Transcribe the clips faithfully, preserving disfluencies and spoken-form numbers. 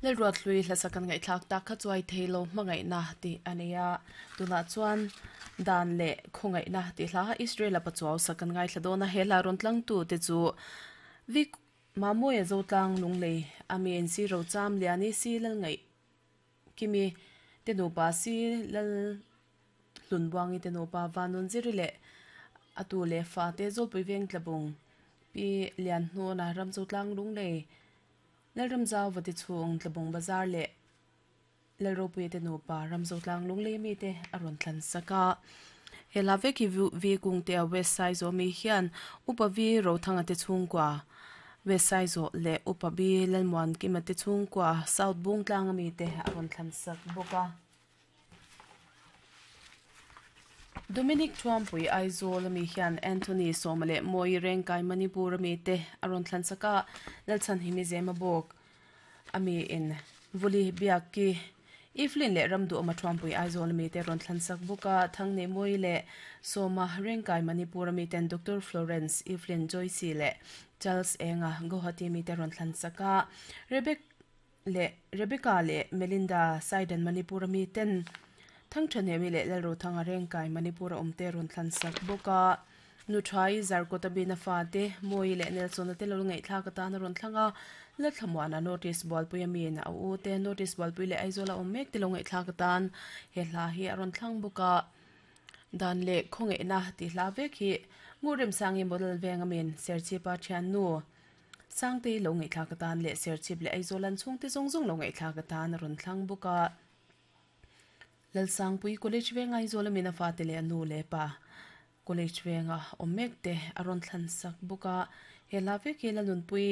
Lelruat hlui hlasakan ngai thlak tak kha chuai theilo hmangai na ti ania tuna chuan dan le khongai na ti hla Israel a pachuaw sakan ngai thladona hela ron tlang tu te chu vik mamoya zotlang lunglei amen si rocham liani si lal ngai kimi te nu pa si lal hlunbuangi te nu pa vanun ziri le atu le fa te zolpui veng tlabung pi lian hnu na ram zotlang lunglei Lalram zau vati chung tlabung bazar le lalropui te nupa ramzotlang lunglei mi te aron thlan saka hela veki vi kung te a west side zo mi hian upa vi rothanga te chungkwa west side zo le upa bi lalmuan kima te chungkwa south bung tlang mi te aron thlan sak boka Dominic Trump pui Aizawl mi hian Anthony Somale moi rengkai Manipur mi te aron thlan saka lalchan himi zema bok ami in vuli biaki Iflin le ramdu ama Trump pui Aizawl mi te ron thlan sak buka thangne moi le Soma rengkai Manipur mi ten Doctor Florence Iflin Joyce le Charles Enga Guwahati mi te ron thlan saka Rebecca le Rebecca le Melinda Saiden Manipur mi ten thang thane mi le lal ro thanga reng kai Manipur omte ron thlan sak boka nu thai zarkota bina fa te moi le Nelson te lo ngai thla ka ta na ron thlanga la thamwana notice ball pui mi na u te notice ball pui le aizola omek te lo ngai thla ka tan he hla hi aron thlang boka dan le khonge na ti hla ve khi ngurem sangi model venga min serchi pa thian nu sangte lo ngai thla ka tan le serchip le aizolan chung te zong zong lo ngai thla ka tan ron thlang boka Lalsang pui college venga izola mina fa te le anu le pa college venga omek te aron thlan sak buka hela ve ke la nun pui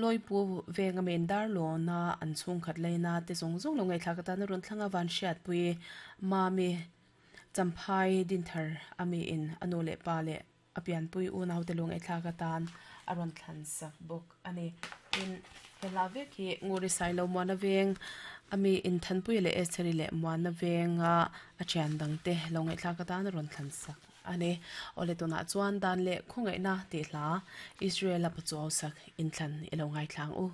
loi pu venga men dar lo na an chung khat leina te zong zong lo ngai thla ka ta na ron thlanga van hriat pui mami champhai din thar ami in anu le pa le apian pui u nau te lo ngai thla ka tan aron thlan sak buk ani in hela ve ki nguri sai lo mo na veng ami in thanpui le eseri le muana venga a chian dang te lo ngai thla ka tan ron thlan sak ani ole tuna chuan dan le khongai na ti hla Israel a pachuaw sak in thlan ilo ngai thlang u.